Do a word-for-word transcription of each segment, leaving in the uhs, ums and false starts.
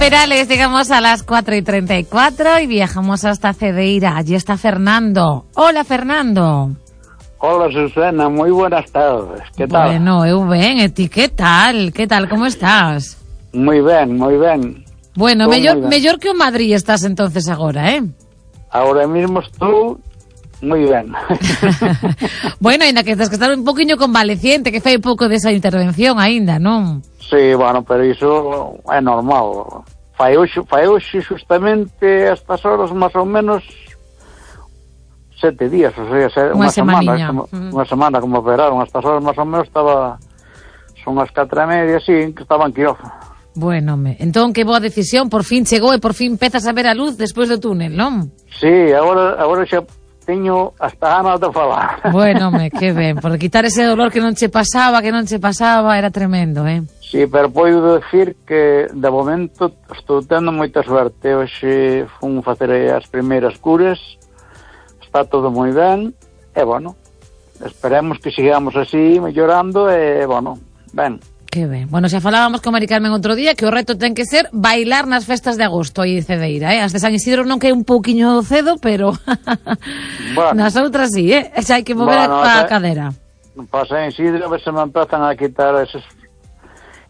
Perales, llegamos a las cuatro y treinta y cuatro y viajamos hasta Cedeira. Allí está Fernando. Hola, Fernando. Hola, Susana, moi buenas tardes. Que tal? Bueno, eu ben, e ti que tal? Que tal, como estás? Moi ben, moi ben. Bueno, mellor, mellor que o Madrid estás entonces agora, eh? Ahora mismo estou moi ben. Bueno, ainda que estás que estar un poquinho convaleciente, que fai pouco desa intervención aínda, non? Sí, bueno, pero iso é normal. Fai hoxe, fai hoxe justamente estas horas máis ou menos sete días, o sea, unha semana, como, mm. unha semana como operaron, estas horas máis ou menos estaba, son as catro e media, sí, que estaba en quirófano. Bueno, me, entón que boa decisión, por fin chegou e por fin empezas a ver a luz despois do túnel, non? Sí, agora, agora xa teño hasta ganas de falar. Bueno, me, que ben, por quitar ese dolor que non che pasaba, que non che pasaba, era tremendo, eh? Sí, pero podo decir que de momento estou tendo moita suerte. Hoxe fun facer as primeiras curas, está todo moi ben, e, bueno, esperemos que sigamos así, mellorando, e, bueno, ben. Que ben. Bueno, xa falábamos con Mari Carmen outro día que o reto ten que ser bailar nas festas de agosto aí en Cedeira, eh? As de San Isidro non que é un pouquiño cedo, pero bueno, nas outras sí, eh? Xa hai que mover bueno, a, a cadera. Para San Isidro, a ver se me empezan a quitar eses,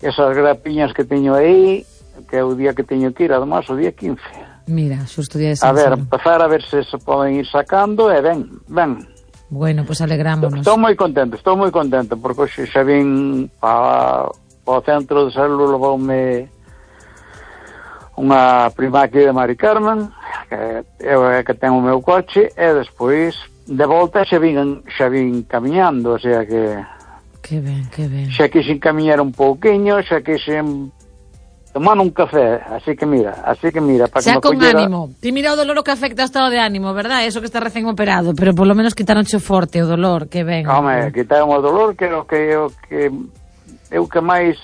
esas grapiñas que teño aí, que é o día que teño que ir, además, o día quince. Mira, xusto día de San A ver, empezar a ver se se poden ir sacando, e ben, ben. Bueno, pois pues alegrámonos. Estou moi contento, estou moi contento, porque hoxe xa vin para o centro de salud, levoume unha prima aquí de Mari Carmen, que eu é que ten o meu coche, e despois de volta xa vin, xa vin camiñando, o sea que... Que ben, que ben. Xa quixen camiñar un pouquiño, xa quixen tomar un café, así que mira, así que mira, para xa que me con collera... ánimo. Ti mira o dolor o que afecta o estado de ánimo, verdad? Eso que está recén operado, pero por lo menos quitaronche forte o dolor, que ben. Home, quitaron o dolor, que o que o que eu que máis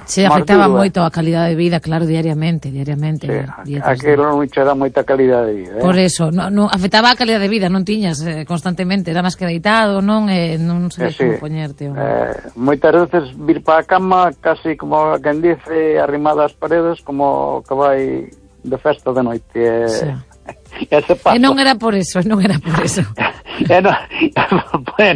se afectaba moito a calidade de vida, claro, diariamente, diariamente. Sí, aquilo non che dá moita calidade de vida, eh? Por eso, no, no, afectaba a calidade de vida, non tiñas eh, constantemente, era máis que deitado, non, eh, non sei eh, sí. como poñerte. Eh, moitas veces vir para a cama, casi como quen dice, arrimada ás paredes, como que vai de festa de noite. Eh, sí. E non era por eso, non era por eso. E non,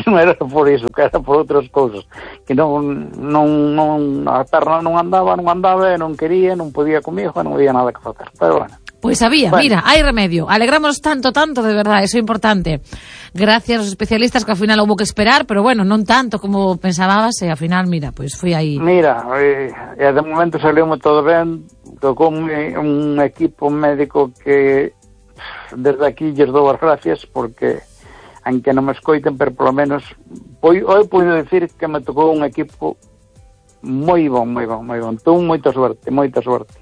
non era por iso, que era por outras cousas, que non, non, non a perna non andaba, non andaba, non quería, non podía comigo, non había nada que facer, pero bueno. Pois pues había, bueno. Mira, hai remedio. Alegramos tanto, tanto, de verdade, eso é importante. Gracias aos especialistas, que ao final houve que esperar, pero bueno, non tanto como pensábamos, e ao final, mira, pois pues foi aí. Mira, e, e de momento saliume todo ben, tocou un, un equipo médico que desde aquí lles dou as gracias, porque aunque non me escoiten, pero polo menos hoy podo decir que me tocou un equipo moi bon, moi bon, moi bon. Tuve moita suerte, moita suerte.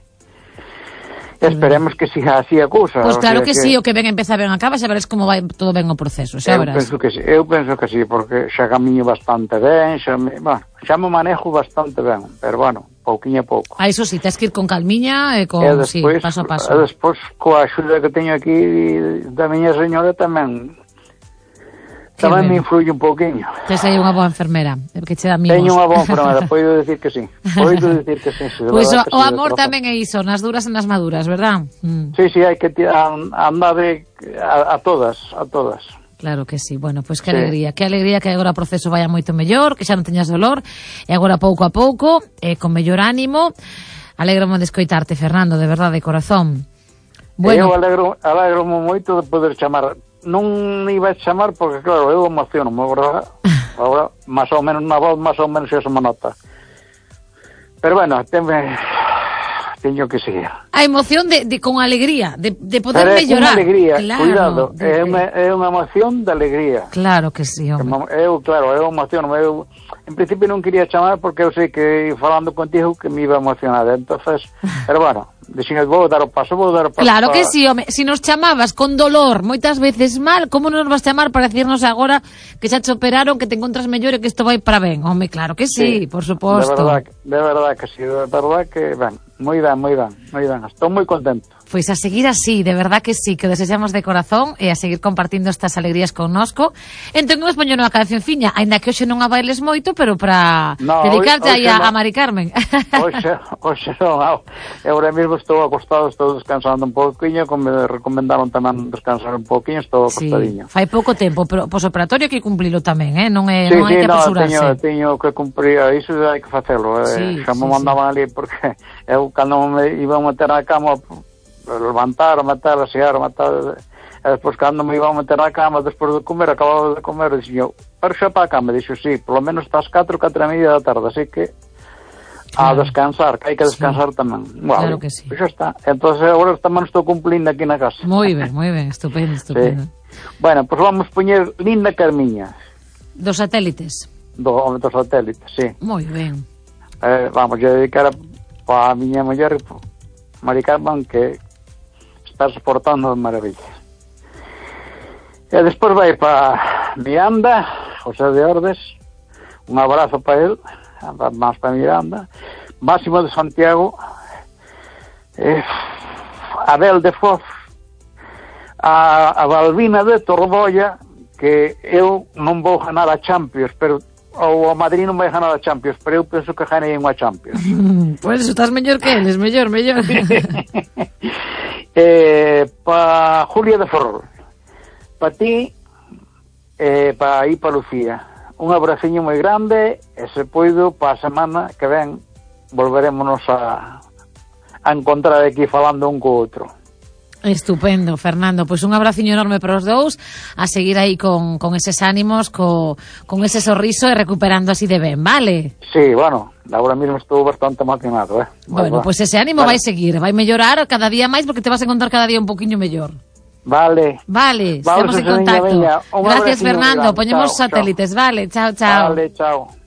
Esperemos que siga así a cousa. Pois pues claro o sea que, que sí, o que ben empeza ben acaba, xa veres como vai todo ben o proceso, xa verás. Eu penso que sí, eu penso que sí, porque xa camiño bastante ben, xa me, bueno, xa me manejo bastante ben, pero bueno, pouquiño a pouco. Ah, iso sí, tens que ir con calmiña e con, e despois, sí, paso a paso. E despois, coa axuda que teño aquí da miña señora tamén, tamén me influye un pouquiño. Tes aí unha boa enfermera, que che dá mimos. Teño unha boa enfermera, podo decir que sí. Podo decir que sí. sí pois pues o, o amor tamén é iso, nas duras e nas maduras, verdad? Mm. Sí, sí, hai que andar a, a todas, a todas. Claro que sí. Bueno, pois pues que sí. alegría, que alegría que agora o proceso vaya moito mellor, que xa non teñas dolor, e agora pouco a pouco, eh, con mellor ánimo. Alégrome de escoitarte, Fernando, de verdade, de corazón. Bueno, eu alegro, alegro moito de poder chamar. Non iba a chamar porque, claro, eu emociono, agora, agora máis ou menos na voz, máis ou menos xa se me nota. Pero bueno, teme, teño que seguir. A emoción de, de con alegría, de, de poder Pero mellorar. É alegría, claro, cuidado, de, é, unha, é unha emoción de alegría. Claro que sí, hombre. Eu, claro, eu emociono, eu en principio non quería chamar porque eu sei que falando contigo que me iba a emocionar, entonces, pero bueno, dixen, vou dar o paso, vou dar o paso. Claro para... que sí, home, si nos chamabas con dolor, moitas veces mal, como non nos vas chamar para decirnos agora que xa te operaron, que te encontras mellor e que isto vai para ben? Home, claro que sí, sí, por suposto. De verdad, de verdad que sí, de verdad que, ben, Moi ben, moi ben, moi ben. Estou moi contento. Pois a seguir así, de verdad que sí, que o desexamos de corazón e a seguir compartindo estas alegrías connosco. Entón, nos poño unha cancionciña, aínda que hoxe non a bailes moito, pero para no, dedicarte aí a, no. a Mari Carmen. Hoxe, hoxe non, eu ahora mesmo estou acostado, estou descansando un pouquiño, como me recomendaron tamén descansar un pouquiño, estou acostadiño. Sí, fai pouco tempo, pero posoperatorio hai que cumplilo tamén, eh? non, é, sí, non hai sí, que apresurarse. No, teño, teño que cumprir, iso hai que facelo, sí, eh, xa me sí, mandaban sí. ali, porque eu cando me iba a meter na cama, levantar, matar, asear, matar, e despois cando me iba a meter na cama despois de comer, acababa de comer, dixo eu, pero xa para a cama, dixo, sí, polo menos estás catro, catro e media da tarde, así que a claro. descansar, que hai que descansar sí. tamén. Claro Vale, que sí. Pois xa está. Entonces agora tamén estou cumplindo aquí na casa. Moi ben, moi ben, estupendo, estupendo. Sí. Bueno, pois pues vamos poñer Linda Carmiña. Dos satélites. Do, dos satélites, sí. Moi ben. Eh, vamos a dedicar a, a miña muller, Mari Carmen, que está soportando de maravilla. E despois vai para Miranda, José de Ordes, un abrazo para él, máis para Miranda, Máximo de Santiago, eh, Abel de Foz, a, a Balbina de Tordolla, que eu non vou ganar a Champions, pero ou a Madrid non vai ganar a Champions, pero eu penso que ganei unha Champions. Pois pues estás mellor que eles, mellor, mellor. eh, pa Julia de Ferrol, pa ti, eh, pa aí pa Lucía, un abraciño moi grande, e se poido pa a semana que ven volverémonos a, a encontrar aquí falando un co outro. Estupendo, Fernando, pois un abraciño enorme para os dous, a seguir aí con, con eses ánimos, co, con ese sorriso e recuperando así de ben, vale? Sí, bueno, agora mesmo estou bastante maquinado, eh? Bueno, pois pues ese ánimo vale. Vai seguir, vai mellorar cada día máis porque te vas a encontrar cada día un poquinho mellor. Vale. Vale, estamos en contacto. Gracias, Fernando, poñemos os satélites, chao. Vale, chao, chao. Vale, chao.